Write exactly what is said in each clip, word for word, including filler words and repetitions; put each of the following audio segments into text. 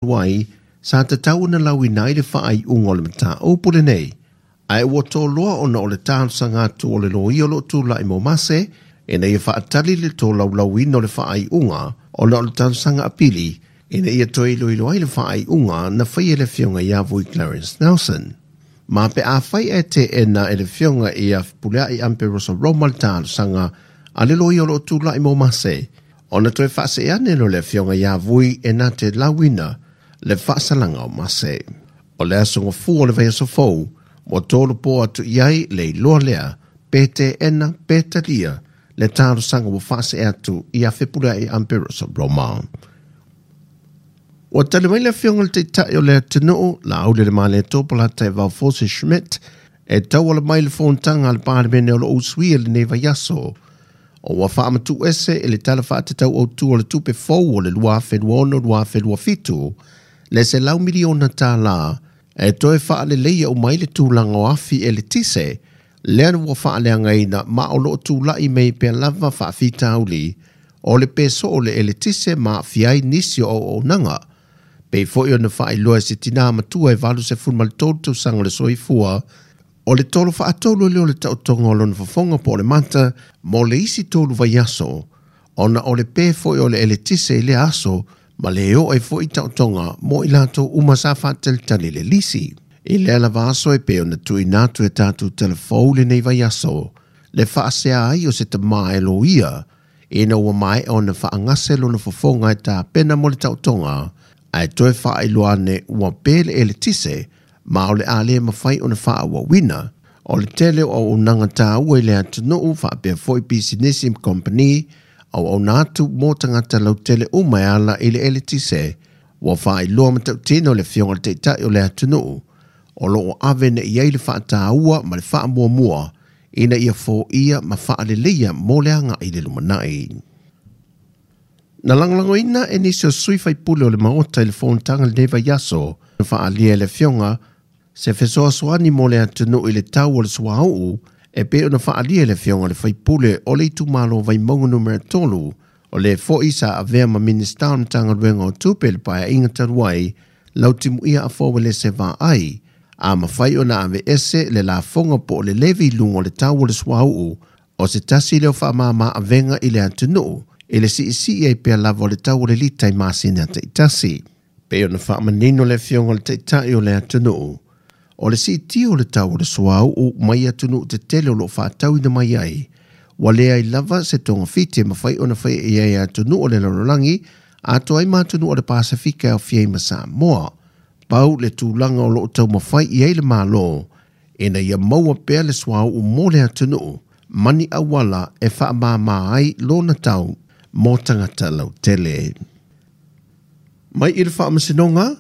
Wai, sa tatau na lauina ai le faaiuga o le mataupu lenei. Ae ua toloa ona o le talosaga atu o le loia o loo tulai mo Mase, ina ia faatali le tolaulauina o le faaiuga ona o le talosaga apili, ina ia toe iloilo ai le faaiuga na faia e le afioga ia Vui Clarence Nelson. Ma pe afai e teena e le afioga ia Fepuleai Amperoso Roma le talosaga a le loia o loo tulai mo Mase, ona toe faasee ane lea o le afioga ia Vui e na te lauina le faasalaga o Mase. O le aso gafua o le vaiaso fou, ua tolu po atu i ai le iloa lea, pe teena pe talia le talosaga ua faasee atu ia Fepuleai Amperoso Roma. Ua tali mai le afioga i le Taitai o le atunuu, Laaulialemalietoa Polataivao Fosi Schmidt, e tauala mai le fonotaga a le Palemene o loo usuia lenei vaiaso. O ua faamatuuese e le Tala Faatatau Autu o le Tupe Fou o le lua afe lua ono lua afe lua fitu, le selau miliona tālā e toe faaleleia uma ai le tulaga o afi eletise, lea ua faaleagaina ma o loo tulai mai pea lava faafitauli o le peso o le eletise ma aafia ai nisi o auaunaga. Pei foi ona faailoa e se tinā matua e valu sefulu ma le tolu tausaga o le soifua, o le tolo faatolu lea o le taotoga o lona fofoga po o le mata mo le isi tolu vaiaso, ona o le pe foi o le eletise i lea aso ma le oo ai foi taotoga mo i latou uma sa faatalitali le lisi. I lea lava aso e pei ona tuuina atu e tatou telefou lenei vaiaso, le faasea ai o se tamā e loia, ina ua maea ona faagase lona fofoga e tapena mo le taotoga, ae toe faailoa ane ua pe le eletise, ma o le a le mafai ona faaauauina. O le tele o auaunaga taua i le atunuu faapea foi pisinisi ma kompani, auauna atu mo tagata lautele uma e ala i le eletise, ua faailoa matautino le afioga i le Taitai o le atunuu, o loo ave nei ai le faataua ma le faamuamua, ina ia foia ma faaleleia mo le agai i le lumanai. Na lagolagoina e nisi o sui faipule o le maota i le fonotaga lenei vaiaso, na faaalia e le afioga se fesoasoani mo le atunuu i le tau o le suauu, e pei ona faaalia e le afioga i le faipule o le itumalo Vaimauga numera tolu, o le foi sa avea ma Minista o le Matagaluega o Tupe le paeaiga talu ai, Lautimuia Afoa Uelese Vaai, a mafai ona aveese le lafoga po o le levy i luga o le tau o le suauu, o se tasi lea o faamama avega i le atunuu, i le siisii ai pea lava o le tau o le lita i masina taitasi. Pei ona faamanino le afioga i le Taitai o le atunuu, o le siitia o le tau o le suauu mai atunuu tetele o loo faatauina mai ai, ua leai lava se togafiti e mafai ona faia i ai atunuu o le lalolagi, atoa ai ma atunuu o le Pasefika e aofia ai ma Samoa. Pau le tulaga o loo taumafai i ai le Malo, ina ia maua pea le suauu mo le atunuu, ma ni auala e faamāmā ai lona tau mo tagata lautele. Mai i le faamasinoga,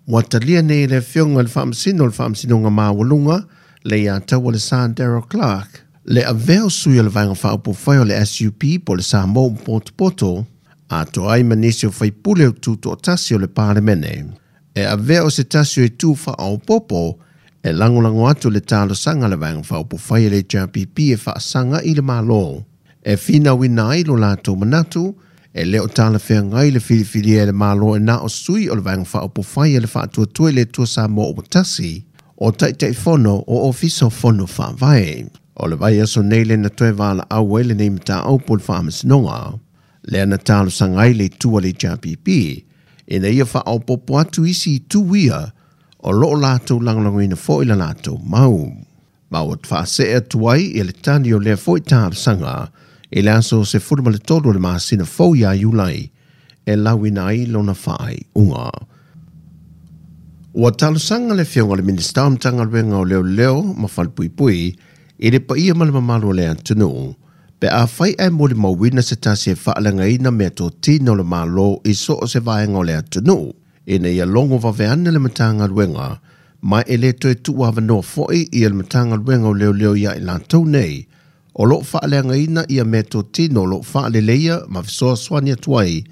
ua talia nei le afioga i le faamasino o le faamasinoga maualuga, le ia taua le Sa Daryl Clark, le avea o sui o le vaega faaupufai o le S U P po o le Samoa Potopoto, atoa ai ma nisi o faipule o tutoatasi o le Palemene. E avea o se tasi o itu faaopopo, e lagolago atu le talosaga a le vaega faaupufai a le H R P P e faasaga i le Malo. E finauina ai lo latou manatu, e le o talafeagai le filifilia e le Malo e na o sui o le vaega faaupufai a le faatuatua i le Atua Samoa ua tasi, o Taitaifono o Ofisa o Fono Faavae. O le vaiaso nei le na toe valaau ai lenei mataupu o le faamasinoga, lea na talosaga ai le itu a le H R P P, ina ia faaopopo atu isi itu ia, o loo latou lagolagoina foi la latou mau. Ma ua faasee atu ai i le tali o lea foi talosaga, i le aso sefulu ma le tolu o le masina fou ia Iulai, e lauina ai lona faaiuga. Ua talosaga le afioga i le Minista o Matagaluega o Leoleo ma Falepuipui i le paia ma le mamalu o le atunuu, pe afai ae molimauina se tasi e faaleagaina mea totino o le Malo i so o se vaega o le atunuu, ina ia logo vaveane le Matagaluega, ma e le toe tuuavanoa foi ia le Matagaluega o Leoleo ia i latou nei, o loo faaleagaina ia mea totino o loo faaleleia ma fesoasoani atu ai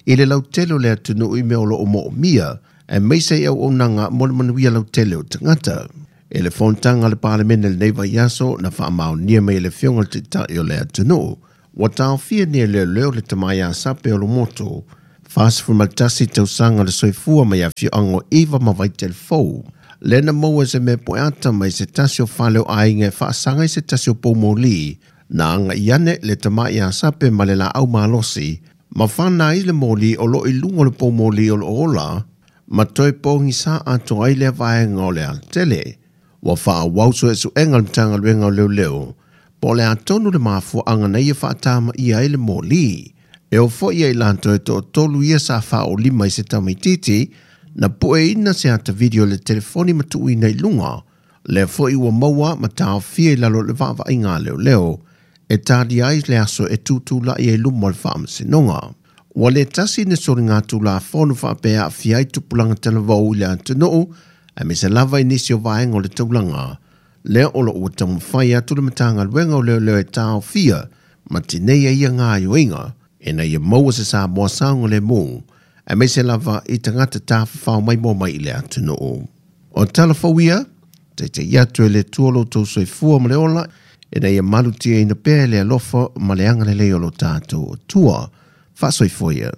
i le lautele o le atunuu i mea o loo moomia, e maise i auaunaga mo le manuia lautele o tagata. E le fonotaga a le Palemene lenei vaiaso na faamaonia mai e le afioga i le Taitai o le atunuu, ua taofia nei e leoleo le tama ia Sape o Lomoto, Fasefulumatasi tausaga le soifua mai afioaga o Iva ma Vaitelefou. Lea na maua se mea poeata mai se tasi o fale o aiga e faasaga i se tasi o poumoli, na agai ane le tama'i a sape ma le laau malosi, ma fana ai le moli o loo i luga o le poumoli o loo ola, ma toe pogisa atoa ai lea vaega o le alatele. Ua faaauau suesuega a le Matagaluega o Leoleo, po o le a tonu le mafuaaga na ia faatamaia ai le moli. E oo foi ia i latou e toatolu ia sa faaolima i se tamaititi, na pueina se ata video le telefoni ma tuuina i luga, lea foi ua maua ma taofia i lalo o le vaavaaiga a leoleo, e talia ai le aso e tutulai ai luma o le faamasinoga. Ua le tasi ni soligatulafono faapea aafia ai tupulaga talavou i le atunuu, aemaise lava i nisi o vaega o le taulaga, lea o loo ua taumafai atu le Matagaluega o Leoleo e taofia ma tineia ia gaoioiga, ina ia maua se Samoa saogalemu, aemaise lava i tagata tafafao maimoa mai i le atunuu. O tala fou ia, taita'i atu e le Atua lo outou soifua ma le ola, ina ia malutiaina pea e le alofa ma le agalelei o lo tatou Atua. Faasoifua ia.